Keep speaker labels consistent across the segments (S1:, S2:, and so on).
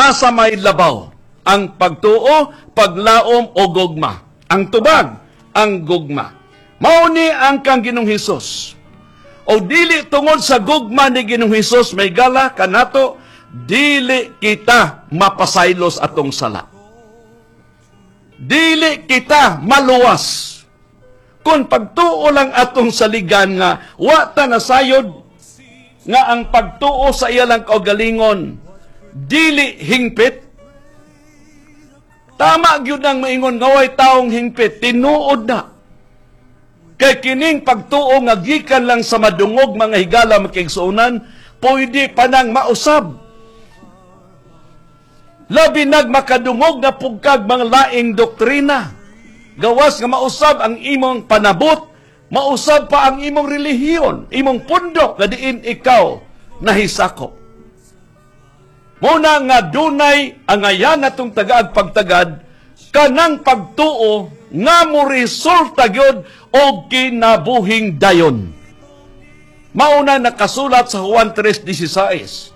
S1: Asa may labaw? Ang pagtuo, paglaom o gugma? Ang tubag, ang gugma. Mao ni ang kang Ginoong Hesus. O dili tungod sa gugma ni Ginoong Hesus, may gala kanato, dili kita mapasaylos atong sala. Dili kita maluwas. Kung pagtuo lang atong saligan nga wa ta nasayod nga ang pagtuo sa iya lang kaugalingon dili hingpit. Tama gyud ang maingon nga way taong hingpit, tinuod na. Kay kining pagtuo nga gikan lang sa madungog, mga higala, makigsuonan, pwede pa nang mausab. Labi nag makadungog na pugkag mga laing doktrina. Gawas nga mausab ang imong panabot, mausab pa ang imong relihiyon, imong pundok nga diin ikaw nahisakop. Muna nga dunay angayan natong tagaag pagtagad kanang pagtuo nga mo resulta gyud og kinabuhing dayon. Mauna nakasulat sa Juan 3:16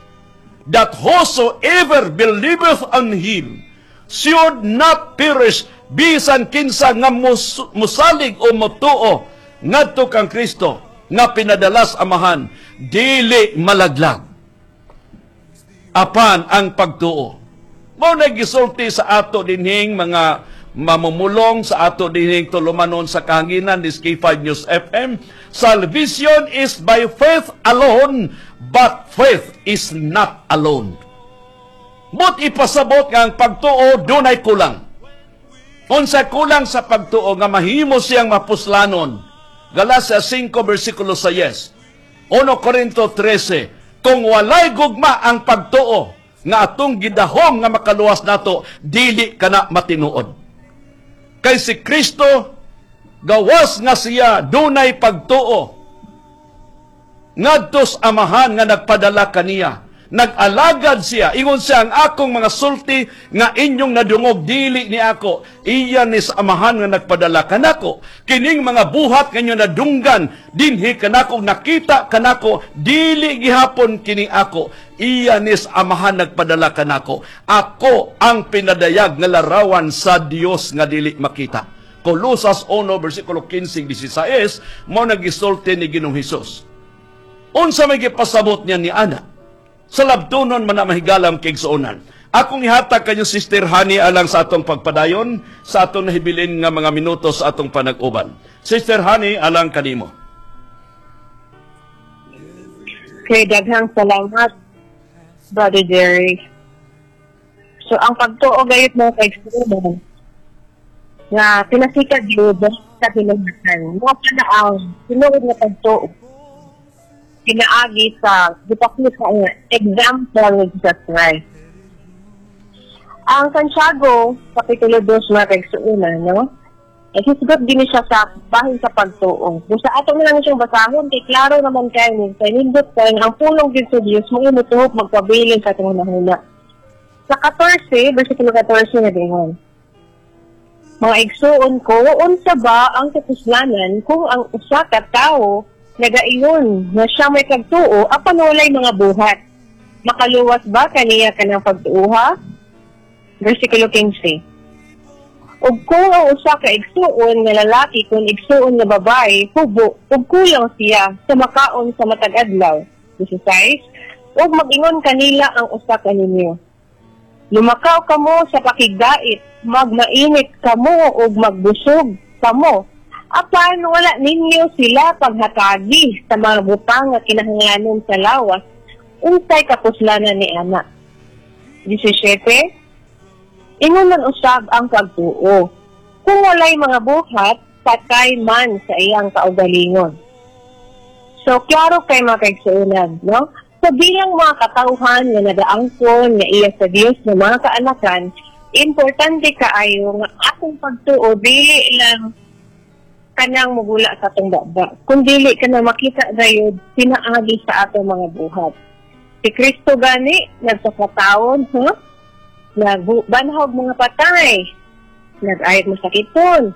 S1: that whosoever believeth on him should not perish, bisan kinsa nga musalig o mutuo ngadto kang Kristo nga pinadala sa Amahan, dili malaglag, apan ang pagtuo. Mao na gisulti sa ato dinhing mga mamumulong sa ato dinhing tulumanon sa kahanginan ni K5 News FM, salvation is by faith alone, but faith is not alone. But ipasabot nga ang pagtuo dunay kulang. Unsa kulang sa pagtuo nga mahimo siyang mapuslanon? Galacia 5 versikulo 6. 1 Corinto 13. Kung walay gugma ang pagtuo nga atong gidahom nga makaluwas nato, dili kana matinuod. Kay si Kristo, gawas nga siya dunay pagtuo ngadto sa Amahan nga nagpadala kaniya, nag-alagad siya. Ingon siya, "Ang akong mga sulti nga inyong nadungog dili ni ako, iya ni sa Amahan nga nagpadala kanako. Kining mga buhat nga inyong nadunggan dinhi kanako, nakita kanako, dili gihapon kini ako, iya ni sa Amahan nagpadala kanako. Ako ang pinadayag nga larawan sa Dios nga dili makita." Kolosas 1 versikulo 15 16, mao nagisulti ni Ginoong Hesus. Unsa may gipasabot niya ni ana? Sa labtunon man na, mahigalam kaigsuonan. Akong ihatag kanyo, Sister Honey, alang sa atong pagpadayon sa atong nahibilin nga mga minuto sa atong panag-uban. Sister Honey, alang kanimo.
S2: Okay, daghang salamat, Brother Jerry. So, ang pagtuo gayud, mga kaigsuonan, nga pinasika gyud sa kinahanglan. Mao pa ang tinuod nga pagtuo pinaagi sa gipakita nga example ni Jesus Christ. Ang Santiago, Kapitulo 2, mga kaigsuonan, no? Naghisgot din siya sa bahin sa pagtuo. Kung sa ato na lang siyang basahon, kay klaro naman kayo ni kay nindot kayo ang pulong gyud sa Dios mo imutuhok magpabilin sa atong hunahuna. Sa 14, versikulo 14 na dingon. "Mga igsuon ko, unsa ba ang kapuslanan kung ang usa ka tawo nagaingon nga siya may pagtuo apan walay mga buhat? Makaluwas ba kaniya kanang pagtuoha?" Versikulo 15. "Ug kung ang usa ka igsuon nga lalaki kon igsuon nga babae hubo ug kulang siya sa makaon sa matag adlaw. 16. Ug mag-ingon kanila ang usa kaninyo, 'Lumakaw kamo sa pakigdait, magmainit kamo ug magbusog kamo.' Apan wala ninyo sila paghatagi sa mga butang nga kinahanglanon sa lawas, unsay kapuslanan ni ana?" 17. "Ingon man usab ang pagtuo, kung walay mga buhat, patay man sa iyang kaugalingon." So, klaro kay mga kaigsuonan, no? So, bilang mga katawhan nga nagaangkon nga iya sa Dios nga mga kaanakan, importante kaayo nga atong pagtuo dili lang kanang mugula sa atong baba, kun dili ka na makita gayud pinaagi sa atong mga buhat. Si Kristo gani nagpakataon, ha? Nagbanhog mga patay, nag-ayot masakiton,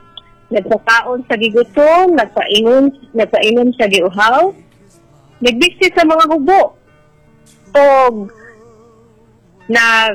S2: nagpakaon sa gigutom, nagpainom sa giuhaw, nagbisi sa mga hubo, og nag